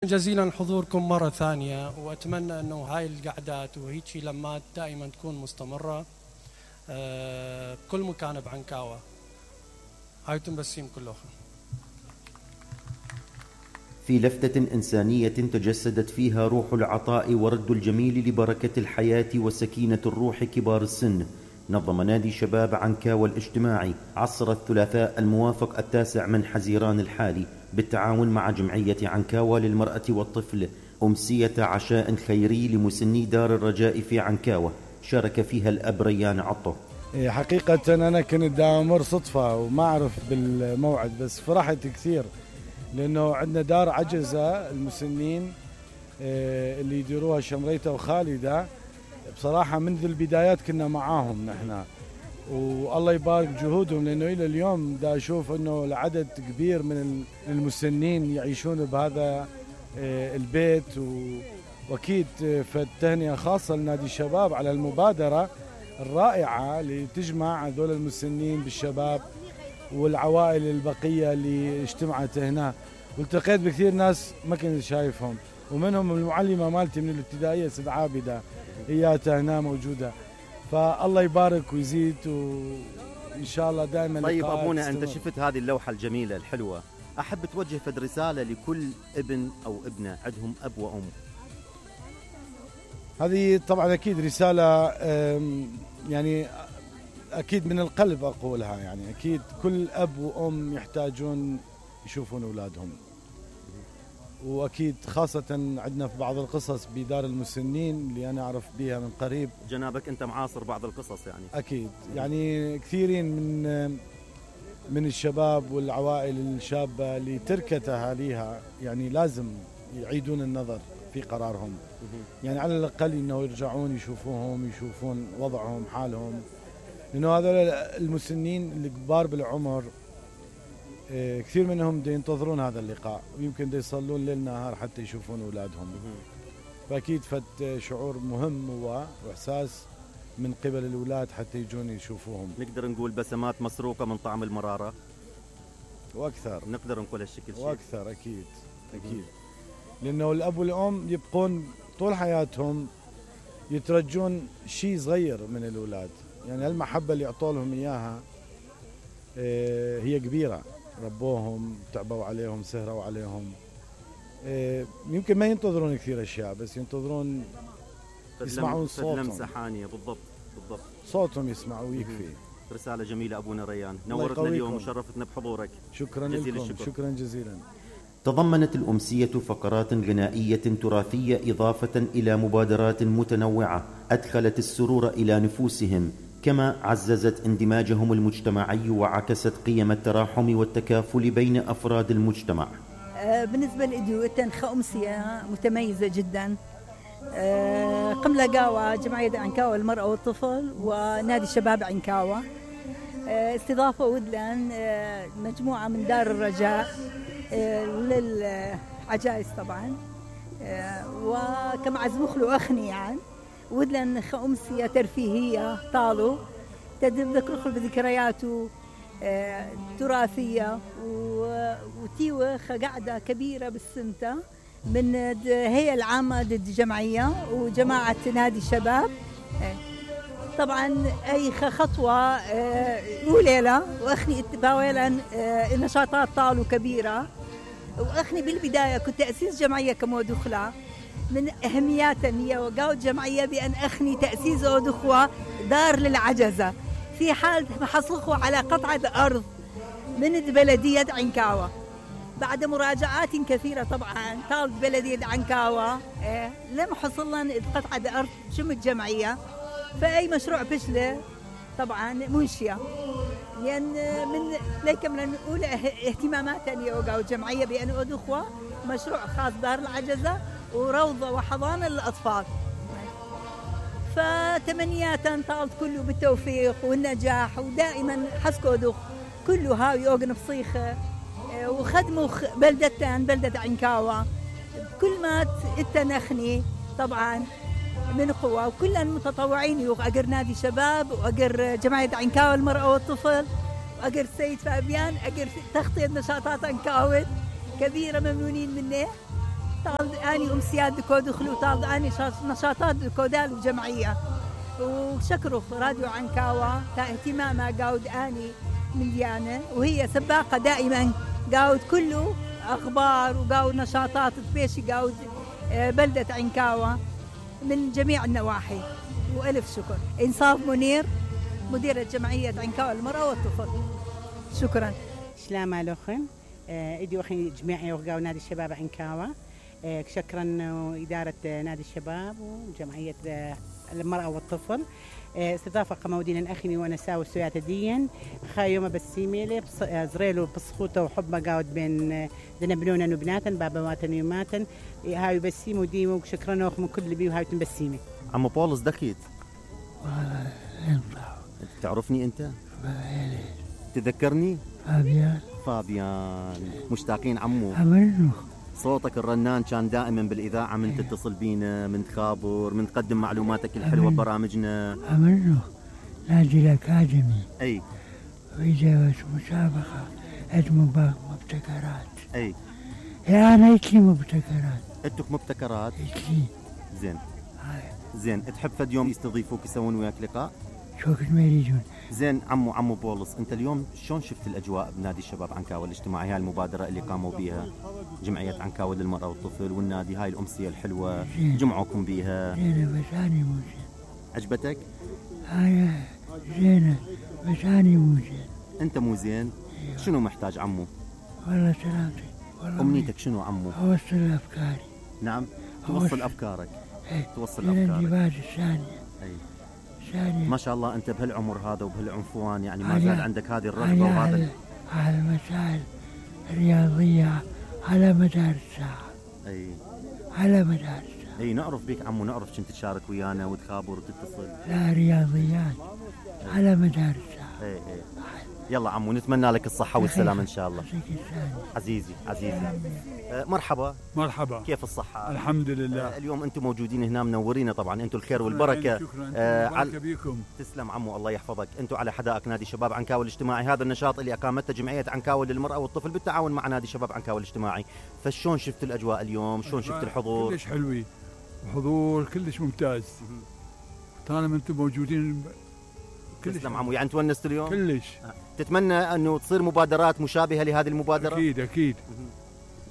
جزيلا حضوركم مرة ثانية، وأتمنى أنه هاي القعدات وهيك لمات دائما تكون مستمرة بكل مكان بعنكاوة. هايتم بسيم كلها. في لفتة إنسانية تجسدت فيها روح العطاء ورد الجميل لبركة الحياة وسكينة الروح كبار السن، نظم نادي شباب عنكاوة الاجتماعي عصر الثلاثاء الموافق 9 من حزيران الحالي بالتعاون مع جمعية عنكاوة للمرأة والطفل أمسية عشاء خيري لمسني دار الرجاء في عنكاوة، شارك فيها الأب ريان عطو. حقيقة أنا كنت دامر صدفة وما أعرف بالموعد، بس فرحت كثير لأنه عندنا دار عجزة المسنين اللي يديروها شمريتة وخالدة. بصراحة منذ البدايات كنا معاهم نحن، والله يبارك جهودهم، لأنه إلى اليوم دا أشوف أنه العدد كبير من المسنين يعيشون بهذا البيت. وأكيد فالتهنئة خاصة لنادي الشباب على المبادرة الرائعة اللي تجمع هذول المسنين بالشباب والعوائل البقية اللي اجتمعت هنا، والتقيت بكثير ناس ما كنت شايفهم، ومنهم المعلمة مالتي من الابتدائية سيد عابدة إياتها هنا موجودة. فالله يبارك ويزيد وإن شاء الله دائما. طيب أبونا، أنت شفت هذه اللوحة الجميلة الحلوة، أحب توجه فد رسالة لكل ابن أو ابنة عندهم أب وأم. هذه طبعا أكيد رسالة يعني أكيد من القلب أقولها، يعني أكيد كل أب وأم يحتاجون يشوفون أولادهم، وأكيد خاصة عندنا في بعض القصص بدار المسنين اللي أنا أعرف بها من قريب. جنابك أنت معاصر بعض القصص يعني؟ أكيد، يعني كثيرين من الشباب والعوائل الشابة اللي تركت أهاليها يعني لازم يعيدون النظر في قرارهم، يعني على الأقل إنه يرجعون يشوفوهم، يشوفون وضعهم حالهم، لأنه هذول المسنين الكبار بالعمر كثير منهم دا ينتظرون هذا اللقاء، ويمكن دا يصلون ليل نهار حتى يشوفون أولادهم. فأكيد فت شعور مهم هو وإحساس من قبل الأولاد حتى يجون يشوفوهم. نقدر نقول بسمات مسروقة من طعم المرارة وأكثر، نقدر نقول هالشكل شيء وأكثر. أكيد أكيد، لأنه الأب والأم يبقون طول حياتهم يترجون شيء صغير من الأولاد، يعني المحبة اللي يعطوا لهم إياها هي كبيرة، ربوهم، تعبوا عليهم، سهروا عليهم. يمكن ما ينتظرون كثير أشياء، بس ينتظرون يسمعون صوتهم، لمسة حانية. بالضبط بالضبط، صوتهم يسمعوا ويكفي. رسالة جميلة أبونا ريان، نورتنا اليوم وشرفتنا بحضورك. شكرا لكم، شكرا جزيلا. تضمنت الأمسية فقرات غنائية تراثية إضافة إلى مبادرات متنوعة أدخلت السرور إلى نفوسهم، كما عززت اندماجهم المجتمعي وعكست قيم التراحم والتكافل بين أفراد المجتمع. بالنسبة لإديوتن أمسية متميزة جدا. قملة قاوة جمعية عنكاوة للمرأة والطفل ونادي الشباب عنكاوة استضافوا ودلان مجموعة من دار الرجاء للعجائز طبعا، وكما عزمخلوا أخني يعني ودلن أمسية ترفيهية طالوا تذكر بذكرياته تراثية وتيوخ قاعدة كبيرة بالسنتة من هي العامة ضد الجمعية وجماعة نادي الشباب. طبعا أي خطوة وليلة وأخني باويلا النشاطات طالوا كبيرة، وأخني بالبداية كنت تأسيس جمعية كمودخلة من أهمياتها هي وقاوة جمعية بأن أخني تأسيس أودخوة دار للعجزة في حال حصلخوا على قطعة أرض من بلدية عنكاوة. بعد مراجعات كثيرة طبعا طالت بلدية عنكاوة لم حصل لنا قطعة أرض شم الجمعية، فأي مشروع فشله طبعا منشية، لأن من ليك من أولى اهتماماتنا يوقعوا الجمعية بأن أدخوا مشروع خاص دار العجزة وروضة وحضانة للأطفال. فتمنيات طالت كله بالتوفيق والنجاح، ودائما حسكوا دخ كله هاوي أوغن بصيخة وخدموا بلدة عنكاوة كل ما اتنخني طبعا من قوة، وكل المتطوعين أقر نادي شباب وأقر جمعية عنكاوة المرأة والطفل وأقر سيد فابيان أقر تغطية نشاطات عنكاوة كبيرة ممنونين منه. اني امسيات دكود خلوطات اني نشاطات دكودال وجمعيه. وشكروا راديو عنكاوة اهتمامها قاود اني مليانه، وهي سباقه دائما قاود كله اخبار وقاود نشاطات تبيشي قاود بلده عنكاوة من جميع النواحي. والف شكر. انصاف منير مديرة جمعية عنكاوة للمرأة والطفل. شكرا. سلام عليكم. إدي أخي جميع وقاو نادي الشباب عنكاوة. شكرا إدارة نادي الشباب وجمعية المرأة والطفل. استضافة قمودين أخني وأنا ساوي السويات ديا خايومة بسيميلي زريلو بسخوته وحب قاود بين ذنبنونا وبناتا بابواتن يوماتا هاي بسيمو ديمو. شكرا لكم كل اللي بيو هاي تنبسيمي. عمو بولس دخيت تعرفني أنت؟ تذكرني؟ فابيان مشتاقين عمو. صوتك الرنان كان دائما بالإذاعة من تتصل بينا من تخابر من تقدم معلوماتك الحلوة ببرامجنا. نادي الأكاديمي أي وإذا مسابقة مبتكرات. أي أنا إتلي مبتكرات. أنتك مبتكرات؟ إتلي. زين تحب فد يوم يستضيفوك يسوون وياك لقاء؟ شو كنت ما يريدون. زين عمو بولس، انت اليوم شلون شفت الاجواء بنادي الشباب عنكاوة الاجتماعي؟ هاي المبادره اللي قاموا بيها جمعيه عنكاوة للمراه والطفل والنادي، هاي الامسيه الحلوه جمعوكم بيها. زينه بس اني مو زين. عجبتك؟ هاي زينه بس اني مو زين. انت مو زين؟ شنو محتاج عمو؟ والله سلامتك. امنيتك شنو عمو؟ اوصل افكاري. نعم توصل افكارك. توصل افكارك. الانتباه الثانيه. ما شاء الله أنت بهالعمر هذا وبهالعنفوان يعني ما زال عندك هذه الرغبة وهذا على مسائل رياضية على مدار الساعة. على مدار الساعة. نعرف بيك عمو، نعرف كنت تشارك ويانا وتخابر وتتصل. لا رياضيات على مدار الساعة. يلا عمو نتمنى لك الصحة والسلامة إن شاء الله. عزيزي مرحبا. كيف الصحة؟ الحمد لله. اليوم أنتم موجودين هنا منورين طبعا، أنتم الخير والبركة. شكرا بيكم. تسلم عمو الله يحفظك. أنتم على حدائق نادي شباب عنكاوة الاجتماعي، هذا النشاط اللي أقامته جمعية عنكاوة للمرأة والطفل بالتعاون مع نادي شباب عنكاوة الاجتماعي. فشون شفت الأجواء اليوم؟ شون شفت الحضور؟ كلش حلوي وحضور كلش ممتاز. طالما أنتم موجودين تسلم عمو. يعني تونست اليوم؟ كلش. تتمنى أنه تصير مبادرات مشابهة لهذه المبادرة؟ أكيد.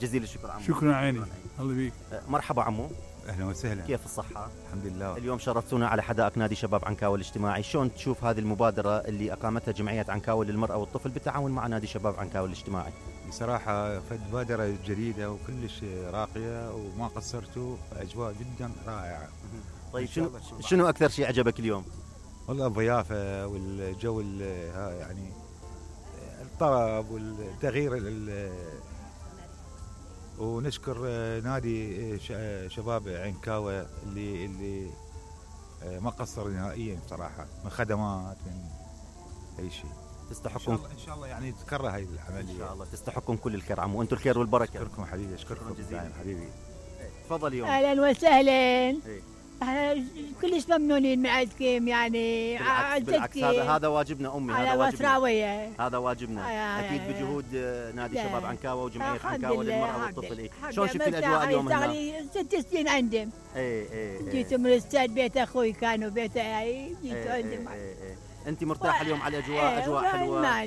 جزيل الشكر عمو. شكرا عيني. الله بيك. مرحبا عمو. أهلا وسهلا. كيف الصحة؟ الحمد لله. اليوم شرفتونا على حدائق نادي شباب عنكاوة الاجتماعي، شلون تشوف هذه المبادرة اللي أقامتها جمعية عنكاوة للمرأة والطفل بالتعاون مع نادي شباب عنكاوة الاجتماعي؟ بصراحة مبادرة جديدة وكلش راقية وما قصرتوا، أجواء جدا رائعة. طيب شنو أكثر شيء عجبك اليوم؟ والله الضيافة والجو يعني الطرب والتغيير ونشكر نادي شباب عنكاوة اللي ما قصر نهائيا بصراحة، من خدمات من أي شيء. تستحقون إن شاء الله يعني تكرر هاي العملية. إن شاء الله تستحقون كل الخير عمو، أنتم الخير والبركة. أشكركم حبيبي. أشكركم جزيلا حبيبي. تفضل يوم. أهلا وسهلا. كلش ممنونين من عندكم يعني. بالعكس هذا واجبنا أمي. هذا واجبنا أكيد بجهود نادي شباب عنكاوة وجمعية عنكاوة للمرأة والطفل. شلون شفت الأجواء اليوم هنا؟ صار 6 سنين عندهم. جيت من الاستاذ بيت أخوي كانوا بيته جيت عندهم. أنت مرتاحة اليوم على الأجواء؟ أجواء حلوة.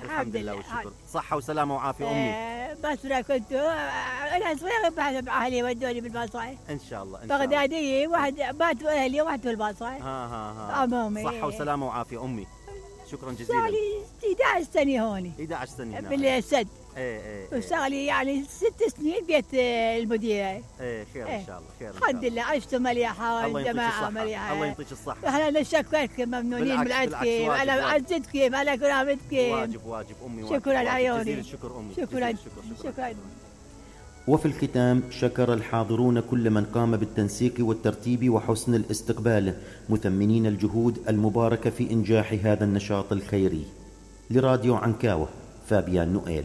الحمد لله والشكر. صحة وسلامة وعافية أمي. بصرة كنت أنا صغيرة بحث أهلي ودوني بالبصرة. إن شاء الله. بغدادية واحد بات أهلي وواحد في البصرة. أمامي. صحة وسلامة وعافية أمي. شكرا جزيلا. صار لي 11 سنة هوني. 11 سنة هنا. بالسد. وصار لي يعني 6 سنين بيت المديرة. خير إن شاء الله. خير الحمد لله عشتوا مليحة والجماعة مليحة. الله يعطيك الصحة. احنا نشكركم ممنونين من عندكم على عزتكم على كرامتكم. واجب أمي. شكرا عيوني. الشكر أمي. شكرا. وفي الختام شكر الحاضرون كل من قام بالتنسيق والترتيب وحسن الاستقبال، مثمنين الجهود المباركة في إنجاح هذا النشاط الخيري. لراديو عنكاوة، فابيان نوئيل.